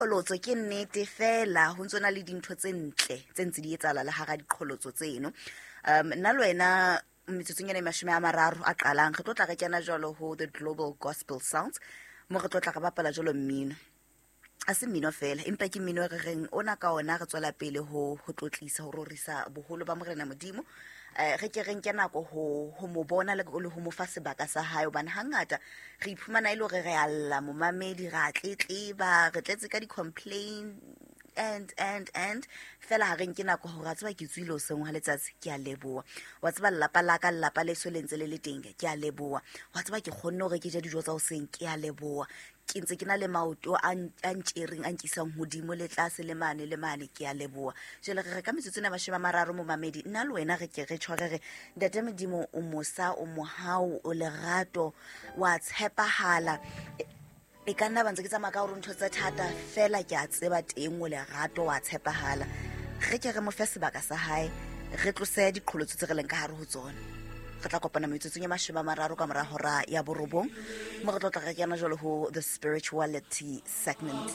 Qholotso ke nnete fela ho ntso na le dintho tse ntle tse ntse di etsahala le hara diqholotso tseno. Nna le wena metsotsong ena e 30 a qalang re tlo tla re kena jwalo ho the Global Gospel Sounds, mo re tlo tla re bapala jwalo mmino. A se mmino fela, empa ke mmino e re reng ona ka ona re tswela pele ho tlotlisa, ho rorisa boholo ba Morena Modimo. Re ke re nke nako ho mo bona le ho mo fa sebaka sa hae, hobane hangata re iphumana e le hore re a lla momamedi, re a tletleba, re tletse ka di-complain and fela ha re nke nako hore a tseba ke tswile hoseng hwa letsatsi, ke a leboha. Wa tseba lelapa la ka, lelapa leso le ntse le le teng, ke a leboha. Wa tseba ke kgonne hore ke je dijo tsa hoseng, ke a leboha. Ke ntse ke na le maoto a ntjereng, a nkisang hodimo le tlase le mane le mane, ke a leboha. Jwale re re ka metsotso ena 30, momamedi, nna le wena re ke re tjho re re Ntate Modimo o mosa, o mohau, o lerato, wa tshepahala. E ka nna ba ntse ke tsamaya ka hore ntho tse thata fela ke a tseba teng o lerato, wa tshepahala. Re ke re mo fe sebaka sa hae, re tlose diqholotso tse re leng ka hare ho tsona. Re tla kopana metsotsong e 30 ka mora hora ya 9, mo re tlo tla re kena jwalo ho the spirituality segment.